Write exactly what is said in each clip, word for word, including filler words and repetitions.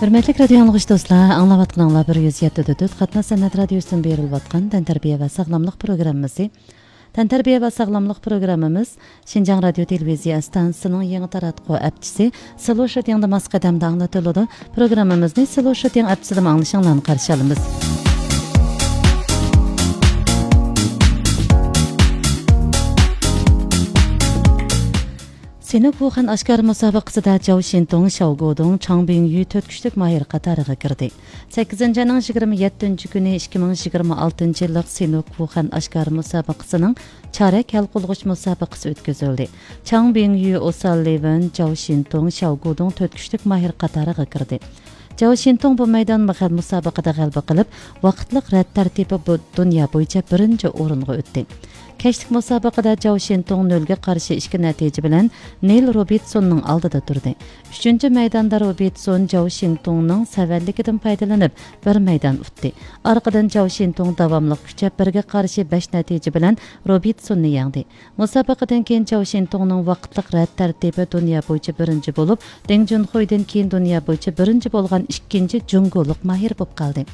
ھۆرمەتلىك رادىيو ئاڭلىغۇچى دوستلار، ئاڭلاۋاتقىنىڭلار بىر يۈز يەتتە دۆت قاتناش سەنئەت رادىيوسىدىن بېرىلىۋاتقان تەنتەربىيە ۋە ساغلاملىق پروگراممىسى. تەنتەربىيە ۋە ساغلاملىق پروگراممىمىز شىنجاڭ رادىيو تېلېۋىزىيە ئىستانسىسىنىڭ يېڭى تاراتقۇ ئەپچىسى سلو شىتىڭدا ماس قەدەمدە ئاڭلىتىلىدۇ. پروگراممىمىزنى سلو شىتىڭ ئەپچىسىدىمۇ ئاڭلىشىڭلارنى قارشى ئالىمىز. سىنوك ۋۇخەن ئاشكارا مۇسابىقىسىدە جاۋ شىنتۇڭ، شياۋ گودۇڭ، چاڭ بىڭيۈ تۆت كۈچلۈك ماھىر قاتارىغا كىردى. سەككىزىنچى ئاينىڭ يىگىرمە يەتتىنچى كۈنى ئىككى مىڭ يىگىرمە ئالتىنچى يىللىق سىنوك ۋۇخەن ئاشكارا مۇسابىقىسىنىڭ چارەك ھەل قىلغۇچ مۇسابىقىسى ئۆتكۈزۈلدى. چاڭ بىڭيۈ، ئوسال لىۋېن، جاۋ شىنتۇڭ، شياۋ گودۇڭ تۆت كۈچلۈك ماھىر قاتارىغا كىردى. جاۋ شىنتۇڭ بۇ مەيدانمۇ غەل-، مۇسابىقىدە غەلىبە قىلىپ، ۋاقىتلىق رەت تەرتىپى بۇ دۇنيا بويىچە بىرىنچى ئورۇنغا ئۆتتى. كەچلىك مۇسابىقىدە جاۋ شىنتۇڭ نۆلگە قارشى ئىككى نەتىجە بىلەن نىل روبىتسوننىڭ ئالدىدا تۇردى. ئۈچىنچى مەيداندا روبىتسون جاۋ شىنتۇڭنىڭ سەۋەنلىكىدىن پايدىلىنىپ، بىر مەيدان ئۇتتى. ئارقىدىن جاۋ شىنتۇڭ داۋاملىق كۈچەپ، بىرگە قارشى بەش نەتىجە بىلەن روبىتسوننى يەڭدى. مۇسابىقىدىن كېيىن جاۋ شىنتۇڭنىڭ ۋاقىتلىق رەت تەرتىپى دۇنيا بويىچە بىرىنچى بولۇپ، دېڭ جۇنخۇيدىن كېيىن دۇنيا بويىچە بىرىنچى بولغان ئىككىنچى جۇڭگولۇق ماھىر بولۇپ قالدى.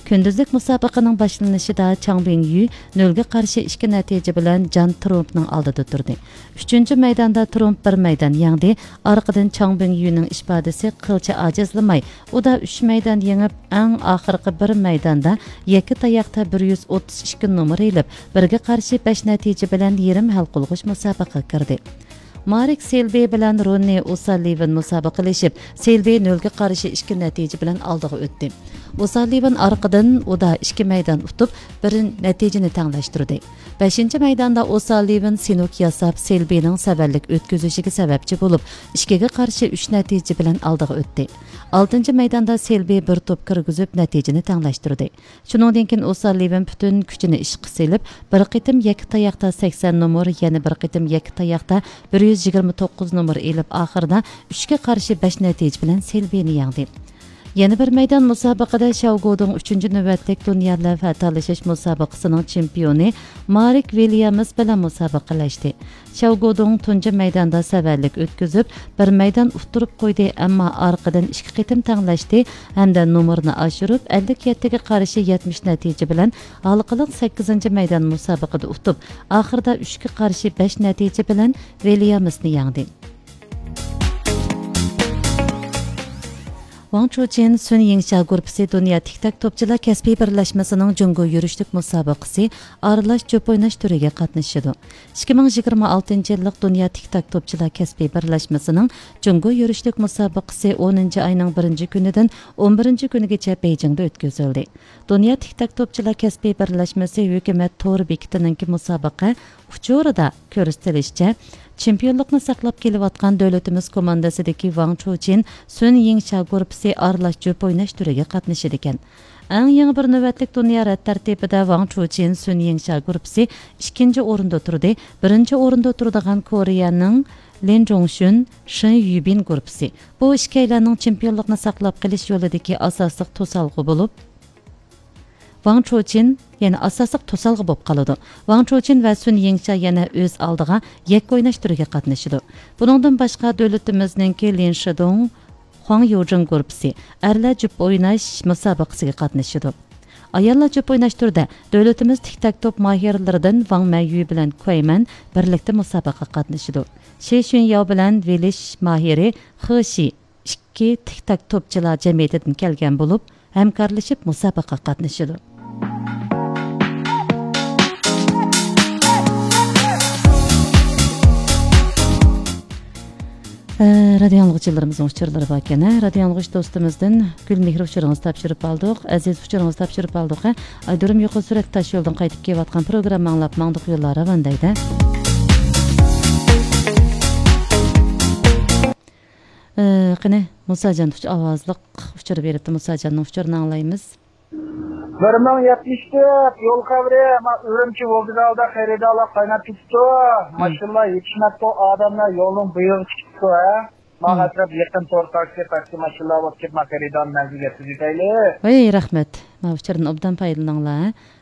كۈندۈزلۈك مۇسابىقىنىڭ باشلىنىشىدا چاڭ بىڭيۈ نۆلگە قارشى ئىككى نەتىجە بىلەن جان ترۇمپنىڭ ئالدىدا تۇردى. ئۈچىنچى مەيداندا ترۇمپ بىر مەيدان يەڭدى. ئارقىدىن چاڭ بىڭيۈنىڭ ئىپادىسى قىلچە ئاجىزلىماي، ئۇدا ئۈچ مەيدان يېڭىپ، ئەڭ ئاخىرقى بىر مەيداندا يەككە تاياقتا بىر يۈز ئوتتۇز ئىككى نومۇر ئېلىپ، بىرگە قارشى بەش نەتىجە بىلەن يېرىم ھەل قىلغۇچ مۇسابىقىگە كىردى. مارك سېلبى بىلەن روننى ئوساللىۋېن مۇسابىقىلىشىپ، سېلبى نۆلگە قارشى ئىككى نەتىجە بىلەن ئالدىغا ئۆتتى. ئوساللىۋېن ئارقىدىن ئۇدا ئىككى مەيدان ئۇتۇپ، بىر نەتىجىنى تەڭلەشتۈردى. بەشىنچى مەيداندا ئوساللىۋېن سىنوك ياساپ، سېلبىنىڭ سەۋەنلىك ئۆتكۈزۈشىگە سەۋەبچى بولۇپ، ئىككىگە قارشى ئۈچ نەتىجە بىلەن ئالدىغا ئۆتتى. ئالتىنچى مەيداندا سېلبى بىر توپ كىرگۈزۈپ، نەتىجىنى تەڭلەشتۈردى. شۇنىڭدىن كېيىن ئوساللىۋېن پۈتۈن كۈچىنى ئىشقا سېلىپ، بىر قېتىم يەككە تاياقتا سەكسەن نومۇر، يەنە بىر قېتىم يەككە تاياقتا بىر يۈز يىگىرمە توققۇز نومۇر ئېلىپ، ئاخىرىدا ئۈچكە قارشى بەش نەتىجە بىلەن سېلبىنى يەڭدى. يەنە بىر مەيدان مۇسابىقىدە شياۋ گودۇڭ ئۈچىنچى نۆۋەتلىك دۇنيا لەۋھە تالىشىش مۇسابىقىسىنىڭ چېمپىيونى مارك ۋىليامس بىلەن مۇسابىقىلەشتى. شياۋ گودۇڭ تۇنجى مەيداندا سەۋەنلىك ئۆتكۈزۈپ، بىر مەيدان ئۇتتۇرۇپ قويدى، ئەمما ئارقىدىن ئىككى قېتىم تەڭلەشتى ھەمدە نومۇرنى ئاشۇرۇپ، ئەللىك يەتتىگە قارشى يەتمىش نەتىجە بىلەن ھالقىلىق سەككىزىنچى مەيدان مۇسابىقىدە ئۇتۇپ، ئاخىرىدا ئۈچكە قارشى بەش نەتىجە بىلەن ۋىليامسنى يەڭدى. ۋاڭ چۇچىن سۈن يىڭشا گۇرۇپپىسى دۇنيا تىك تاك توپچىلار كەسپىي بىرلەشمىسىنىڭ جۇڭگو يۈرۈشلۈك مۇسابىقىسى ئارىلاش جۈپ ئويناش تۈرىگە قاتنىشىدۇ. ئىككى مىڭ يىگىرمە ئالتىنچى يىللىق دۇنيا تىك تاك توپچىلار كەسپىي بىرلەشمىسىنىڭ جۇڭگو يۈرۈشلۈك مۇسابىقىسى ئونىنچى ئاينىڭ بىرىنچى كۈنىدىن ئون بىرىنچى كۈنىگىچە بېيجىڭدا ئۆتكۈزۈلدى. دۇنيا تىك تاك توپچىلار كەسپىي بىرلەشمىسى ھۆكۈمەت تور بېكىتىنىڭكى مۇسابىقە ئۇچۇرىدا كۆرسىتىلىشىچە، چېمپىيونلۇقنى ساقلاپ كېلىۋاتقان دۆلىتىمىز كوماندىسىدىكى ۋاڭ چۇچىن سۈن يىڭشا گۇرۇپپىسى ئارىلاش جۈپ ئويناش تۈرىگە قاتنىشىدىكەن. ئەڭ يېڭى بىر نۆۋەتلىك دۇنيا رەت تەرتىپىدە ۋاڭ چۇچىن سۈن يىڭشا گۇرۇپپىسى ئىككىنچى ئورۇندا تۇردى. بىرىنچى ئورۇندا تۇرىدىغان كورېيەنىڭ لىن جۇڭشۈن، شېن يۈبىن گۇرۇپپىسى. بۇ ئىككىيلەننىڭ چېمپىيونلۇقنى ساقلاپ قېلىش يولىدىكى ئاساسلىق توسالغۇ بولۇپ، ۋاڭ چۇچىن يەنە ئاساسلىق توسالغۇ بولۇپ قالىدۇ. ۋاڭ چۇچىن ۋە سۈن يىڭشا يەنە ئۆز ئالدىغا يەككە ئويناش تۈرىگە قاتنىشىدۇ. بۇنىڭدىن باشقا، دۆلىتىمىزنىڭكى لىن شىدۇڭ، خۇاڭ يۇجىڭ گۇرۇپپىسى ئەرلەر جۈپ ئويناش مۇسابىقىسىگە قاتنىشىدۇ. ئاياللار جۈپ ئويناش تۈرىدە دۆلىتىمىز تىك تاك توپ ماھىرلىرىدىن ۋاڭ مەييۈ بىلەن كۇەيمەن بىرلىكتە مۇسابىقىگە قاتنىشىدۇ. شى شۈنياۋ بىلەن ۋېلىش ماھىرى خې شى ئىككى تىك تاك توپچىلار جەمئىيىتىدىن كەلگەن بولۇپ، ھەمكارلىشىپ مۇسابىقىگە قاتنىشىدۇ. ئە، رادىيو ئاڭلىغۇچىلىرىمىزنىڭ ئۇچۇرلىرى باركەن، ھە؟ رادىيو ئاڭلىغۇچى دوستىمىزدىن گۈلمېھرى ئۇچۇرىڭىزنى تاپشۇرۇپ ئالدۇق، ئەزىز ئۇچۇرىڭىزنى تاپشۇرۇپ ئالدۇق، ھە؟ ئايدۇرۇم يۇقىرى سۈرئەتتە تاش يولدىن قايتىپ كېلىۋاتقان پروگرامما ئاڭلاپ ماڭدۇق يوللار راۋان دەيدۇ. ئە، قېنى، مۇساجان ئۈچ ئاۋازلىق ئۇچۇر بېرىپتۇ، مۇساجاننىڭ ئۇچۇرىنى ئاڭلايمىز. بىر مىڭ يەتمىش تۆت يول خەۋىرى، ما، ئۈرۈمچى ۋوگزالدا خېرىدارلار قايناپ كېتىپتۇ. مم. ماشىنىلار يېتىشمەپتۇ، ئادەملەر يولنىڭ بۇيىغىغا چىقىپتۇ، ھە. ماڭا مم. ئەتراپ يېقىن تور تاكسى، تاكسى ماشىنىلار بولۇپ كېتىپ، ما خېرىدارنى مەنزىلگە يەتكۈزۈۋېتەيلى. ۋەي، رەھمەت. ما ئۇچۇردىن ئوبدان پايدىلىنىڭلار، ھە.